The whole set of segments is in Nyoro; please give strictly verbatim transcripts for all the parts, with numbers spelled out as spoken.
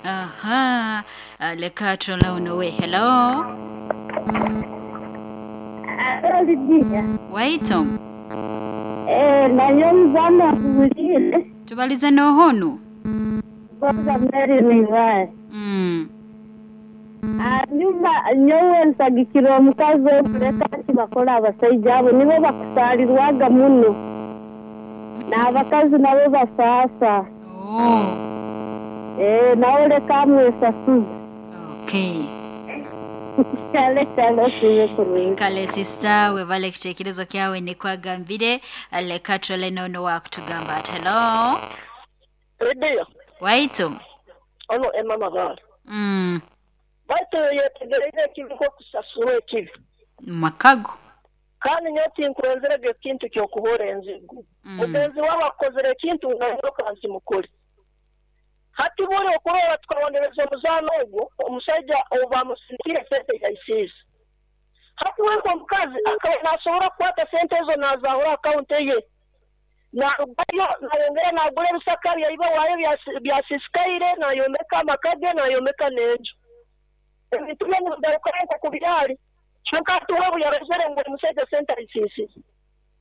Aha, uh, leka turole unowe. Hello. Lidia. Waito. Eh, nayo mzana kuwulire. Tubalize nohonu. Kwanza Mary Mivae. Mm. Hanyuma nyowe nsagikira omukazi okuleka nti bakora abasaija abo nibo bakusaalirwaga muno. N'abakazi nabo basaasa. Oh. Eh, nawe leka amwesasuze. Okay. Kale kale sibe kurungi. Kale sister, webale ekitekerezo kyawe nikwagambire. Leka turole nono wakutugamba ati hello. Lidia, Waito. ono Emma Mabala. Mm. Baitu yetegereire ekibi nk'okusasura ekibi. Makago. Kandi nyowe tinkwenzerege ekintu ky'okuhoora enzigu. Mm. Mugenzi wawe akozere ekintu nayoka nzimukole. Hati buri okurora tukarondereza omuzaano ogwo, omushaija obu bamusindikire sente yaisiisa. Hati we omukazi akaba nasobora kukwata sente ezo naazahura akawunti ye. Narugayo nayongera nagura ebisaka byaiba waayo byasi- byasisikaire, nayombeka amaka ge, nayombeka n'enju. Ebintu bye nibigarukayo nk'oku byari. Kyonka hati we obu yarozere ngu omushaija sente aisiisize,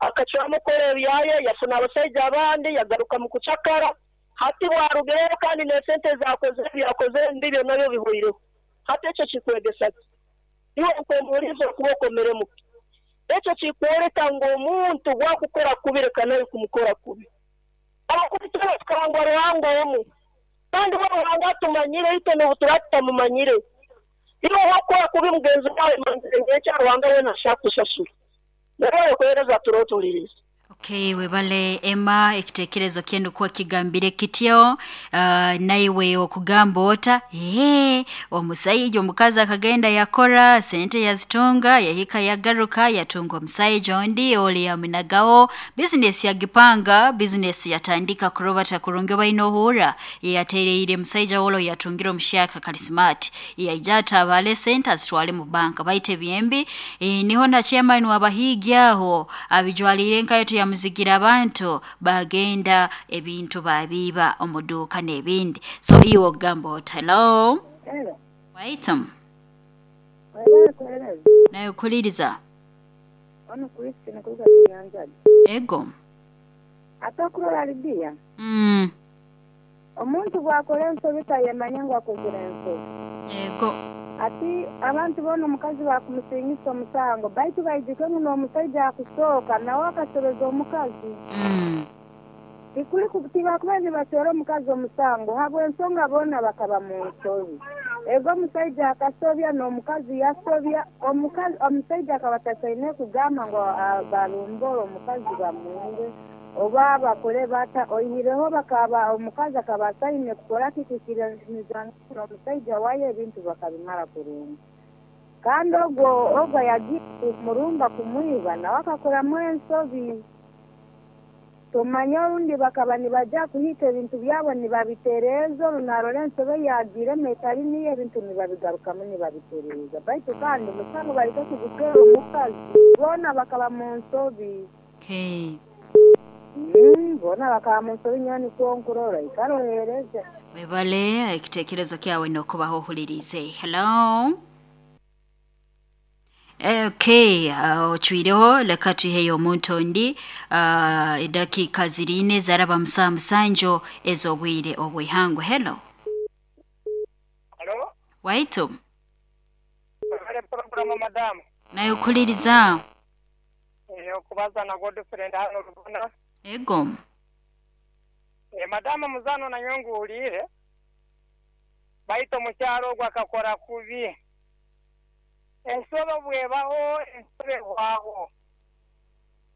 akacwamu kukora ebyaye, yafuna abasaija abandi, yagaruka mu kucakara. Hati bwarugireyo kandi n'esente zakozere ebyakozere ndibyo nabyo bihwireho. Hati ekyo kikwegesa ki? Iwe nk'omuhuriza okuba okomeremu. Ekyo kikworeka ngu omuntu bwakukora kubi reka nawe kumukora kubi. Amakuru twena tukahangwa Ruhanga omu. Kandi we Ruhanga atumanyire itwe n'obu turaba tutamumanyire. Iwe wakora kubi mugenzi wawe manzire nk'ekya Ruhanga we nashaka kusasura. Nawe okuhereza turotuliriza. Okay, webale Emma, ekitekerezo kyenu kuwa kigambire kityo. uh, naiwe okugamba ota ee omusaija omukazi akagenda yakora sente yazitunga yahika yagaruka yatunga omusaija ondi oli yamunagaho bizinesi yagipanga bizinesi yatandika kurobata kurungi baine ohuura yatereire musaija wolo yatungire omushaka kali smart yaija atabale sente azitwale mu banka baite byembi. E, niho na chairman wabahigi aho abijwalire nkayo tuyamuzigira abantu bagenda ebintu babiba omuduka n'ebindi. So iwe ogamba oti hello. Hello. Waitum. Webale kuhereza. Nawe kuliriza. Ono Christine kuruga Kinyanjagi. Ego. Ate okurora Lidia. Mm. Omuntu bwakora ensobi tayemanya ngu akozire ensobi. Ego. Ati abantu boona omukazi bakumusingisa omusango baitu baijukemu n'omusaija akusooka nawe akasobeza omukazi. Mm. Tikuli tibakuba nibacwera omukazi omusango habw'ensonga boona bakaba mu nsobi. Ego omusaija akasobya n'omukazi yasobya, omukazi omusaija akaba tasaine kugamba ngu ah, barumbore omukazi bamwinge oba bakore bata oihireho bakaba omukazi akaba asaine kukora kikikiraniza omusaija wayo ebintu bakabimara kurungi. Kandi ogwo ogwo yagiye kumurumba kumwiba nawe akakoramu ensobi. Tumanye orundi bakaba nibaja kuhika ebintu byabo nibabitereeza orunarora ensobe yagiremu etari niyo ebintu nibabigarukamu nibabitereeza. Baitu kandi omusango bareke kugutwera omukazi boona bakaba mu nsobi. Okay. Mm, boona bakaba mu nsobi nyowe nikwo nkurora ikarohereza. Webale ekitekerezo kyawe nokubaho ohulirize. Hello. Okay, uh, ocwireho leka tuiheyo omuntu ondi. uh, edakiika ziriine zaraba musaa musanju ez'obwire obwihangwe. Hello. Halo? Waitu. Webale programu madamu. Nawe okuliriza. Eh, okubaza na Godfrey hano Rubona. Ego. E, madamu muzano na nyongu uliire. Baito mukyalo ogwo akakora kubi. Ensobe bwebaho, ensobe ehwaho.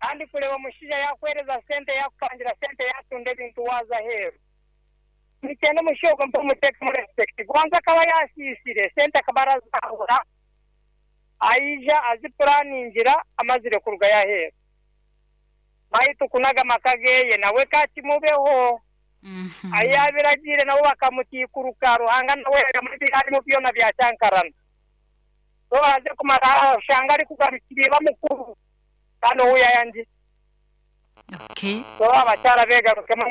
Kandi kureba omushaija yakwereza sente yakupangira sente yatunda ebintu waza aheeru. Nikyenda omushaija ogwo mpe omuteekemu respect. Gwanza akaba yasiisire sente akaba arazahura aija azipuraningira amazire kurugayo aheeru. Baitu kunaga amaka geye nawe kakimubeho. Mm-hmm. Ayabiragire nabo bakamutikuruka Ruhanga nawe arimo byona byacyankarana. So aze kumara ushanga ari kugarukira mukuru kandi uwo yayangi. Okay. So abakyara begarukemo.